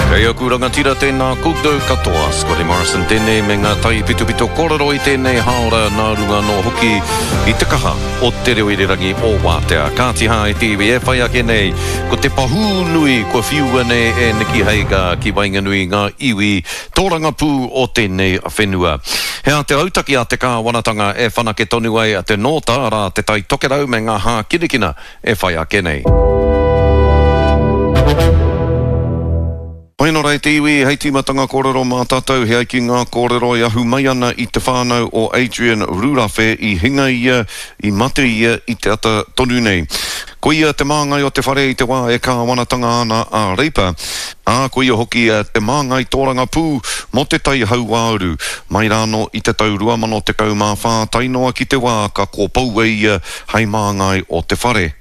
Kei aku rangatira tēnā koutou katoa. Scotty Morrison tēnei me ngā taipitopito kōrero i tēnei hāora nā runga anō hoki i te kaha o te reo irirangi o Wātea. Kāti hā e te iwi e whai ake nei ko te pahū nui kua whiua nei e Nikki Hagar ki waenganui i ngā iwi tōrangapū o tēnei whenua. He aha te rautaki a te kāwanatanga e whanake tonu ai te nōta, arā, te Tai Tokerau me ngā hākinakina e whai ake nei. Pai nō rā e te iwi, hei tīmatanga kōrero mā tātou he ai ki ngā kōrero e ahu mai ana i te whānau o Adrian Rurawhe i hinga ia, i mate ia i te ata tonu nei. Ko ia te māngai o te whare i te wā e kāwanatanga ana a Reipa, ā, ko ia hoki te māngai tōrangapū mō Te Tai Hauāuru, mai rānō i te tau 2014 tae noa ki te wā ka kōpoua ia hei māngai o te whare.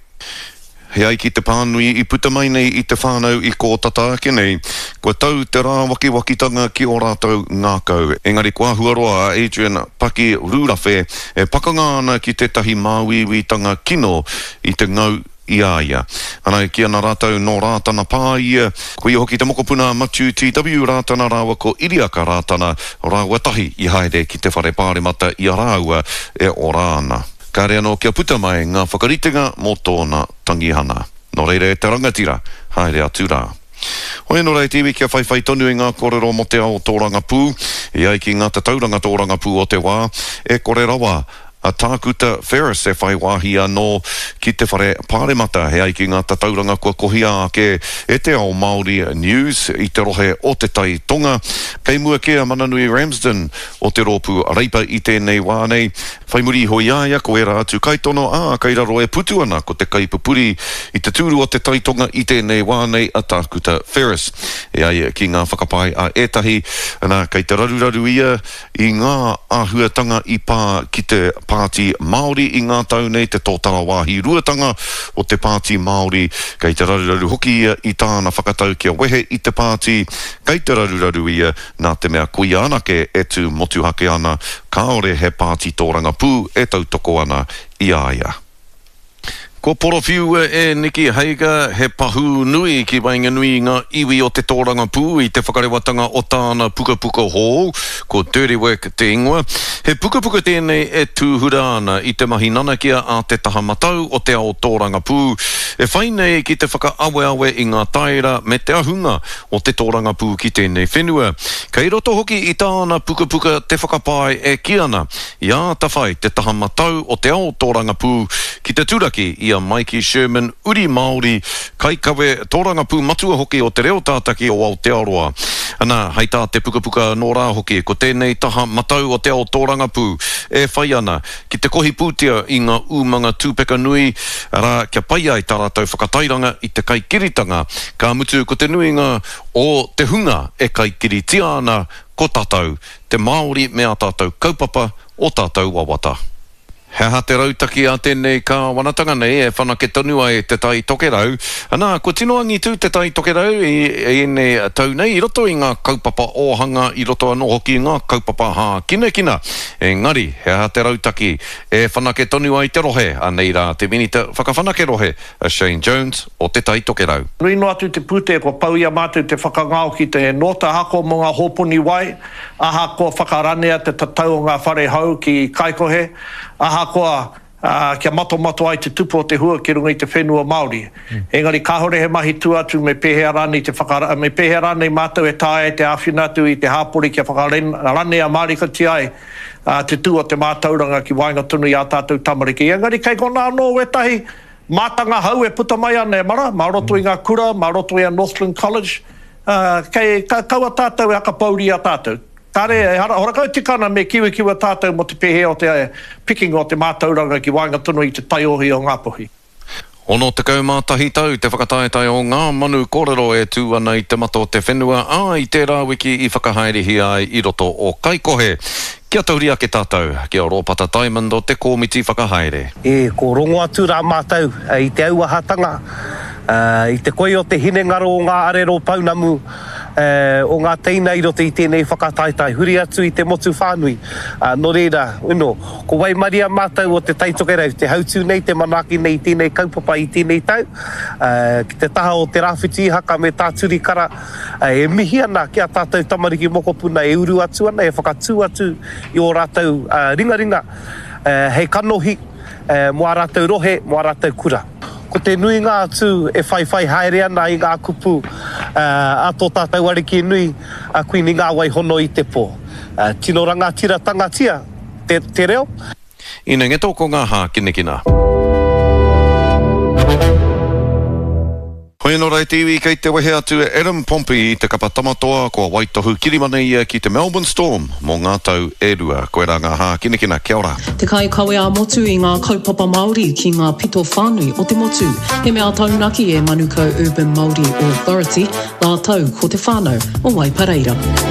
He ai ki te pānui i puta mai nei i te whānau i kō tata ake nei, kua tau te rāwakiwakitanga ki ō rātou ngākau. Engari kua āhua roa a Adrian Paki Rūrawhe e pakanga ana ki tētahi māuiuitanga kino i te ngau i a ia. Ana e kī ana rātou nō Rātana Pā ia, ko ia hoki te mokopuna a Matiu TW Rātana rāua ko Iriaka Rātana rāua tahi i haere ki te whare pāremata i a rāua e ora ana. Kāre anō kia puta mai ngā whakaritenga mō tōna tangihana. Nō reira e te rangatira, haere atu rā. Hoi anō rā e te iwi kia whaiwhai tonu i ngā kōrero mō te ao tōrangapū, e ai ki ngā tatauranga tōrangapū o te wā, e kore rawa a Tākuta Ferris e whai wāhi anō ki te whare pāremata, e ai ki ngā tatauranga kua kohia ake e Te Ao Māori News i te rohe o Te Tai Tonga. Kei mua kē a Mananui Ramsden o te rōpū Reipa i tēnei wā nei. Whai muri iho i a ia ko ērā atu kaitono, ā, kei raro e putu ana ko te kaipupuri i te tūru o te Tai Tonga i tēnei wā nei a Tākuta Ferris. E ai ki ngā whakapae a ētahi, nā, kei te raruraru ia i ngā āhuatanga i pā ki te Pāti Māori i ngā tau nei, te tōtara wāhi ruatanga o te Pāti Māori, kei te raruraru hoki ia i tāna whakatau kia wehe i te pāti, kei te raruraru ia nā te mea ko ia anake e tū motuhake ana, kāore he pāti tōrangapū e tautoko ana i a ia. Kua porowhiua e Nikki Hager he pahū nui ki waenganui i ngā iwi o te tōrangapū i te whakarewatanga o tāna pukapuka hou, ko Dirty Work te ingoa. He pukapuka tēnei e tūhura ana i te mahi nanakia a te taha matau o te ao tōrangapū, e whai nei ki te whakaaweawe i ngā taera me te ahunga o te tōrangapū ki tēnei whenua. Kei roto hoki i tāna pukapuka te whakapae e kī ana, i āta whai te taha matau o te ao tōrangapū ki te turaki i a Maiki Sherman, uri Māori, kaikawe tōrangapū matua hoki o Te Reo Tātaki o Aotearoa. Ana, hei tā te pukapuka anō rā hoki, ko tēnei taha matau o te ao tōrangapū e whai ana ki te kohi pūtea i ngā umanga tūpeka nui, arā, kia pai ai tā rātou whakatairanga i te kaikiritanga, ka mutu ko te nuinga o te hunga e kaikiritia ana ko tātou, te Māori me ā tātou kaupapa, ō tātou wawata. He aha te rautaki a tēnei kāwanatanga nei e whanake tonu ai Te Tai Tokerau? Anā, kua tino angitū Te Tai Tokerau i ēnei tau nei i roto i ngā kaupapa ōhanga, i roto anō hoki i ngā kaupapa hākinakina. Engari, he aha te rautaki e whanake tonu ai te rohe? Anei rā te Minita Whakawhanake Rohe, a Shane Jones o Te Tai Tokerau. Nui noa atu te pūtea kua pau i a mātou te whakangao ki te nōta hako mō ngā hōpuni wai, ahakoa whakaranea te tatau o ngā whare hou ki Kaikohe, ahakoa kia matomato ai te tupu o te hua ki runga i te whenua Māori. Engari kāore he mahi tua atu me pēhea rānei te whaka, me pēhea rānei mātou e taea ai te āwhina atu i te hāpori kia whakaranea mārikatia ai te tū o te mātauranga ki waenga tonu i ā tātou tamariki. Engari kei konā anō wētahi mātanga hou e puta mai ana e mara, mā roto i ngā kura, mā roto i a Northland College, kei, kaua tātou e akapouri i a tātou. Kāre, ehara, horakau tika ana me kiwikiwa tātou mō te pēhea o te pikinga o te mātauranga ki waenga tonu i te taiohi o Ngāpuhi. 61 tau te whakataetae o Ngā Manu Kōrero e tū ana i te mata o te whenua, ā, i tērā wiki i whakahaerehia ai i roto o Kaikohe. Kia tahuri ake tātou ki a Rōpata Diamond o te Kōmiti Whakahaere. E, ko rongo atu rā mātou i te auahatanga, i te koi o te hinengaro o ngā arero pounamu. o ngā teina i roto i tēnei whakataetae, huri atu i te motu whānui. Nō reira, you know, ko waimaria mātou o Te Tai Tokerau, te hautū nei, te manaaki nei i tēnei kaupapa i tēnei tau, ki te taha o Te Rāwhiti Ihaka me Tā Turi Kara, e mihi ana ki a tātou tamariki mokopuna e uru atu ana, e whakatū atu i ō rātou ringaringa hei kanohi mō ā rātou rohe, mō ā rātou kura. Ko te nuinga atu e whaiwhai haere ana i ngā kupu a tō tātou Ariki nui, a Kuini Ngāwai Hono i te Pō. Tino rangatiratanga-tia te reo. Ina ngeto ko ngā hākinakina. Hoi anō rā e te iwi, kei te wehe atu e Adam Pompey i te kapa Tamatoa, kua waitohu kirimana ia ki te Melbourne Storm mō ngā tau e rua. Koirā ngā hākinakina, kia ora. Te kaikawe ā-motu i ngā kaupapa Māori ki ngā pito whānui o te motu. He mea taunaki e Manukau Urban Māori Authority rātou ko te whānau o Waipareira.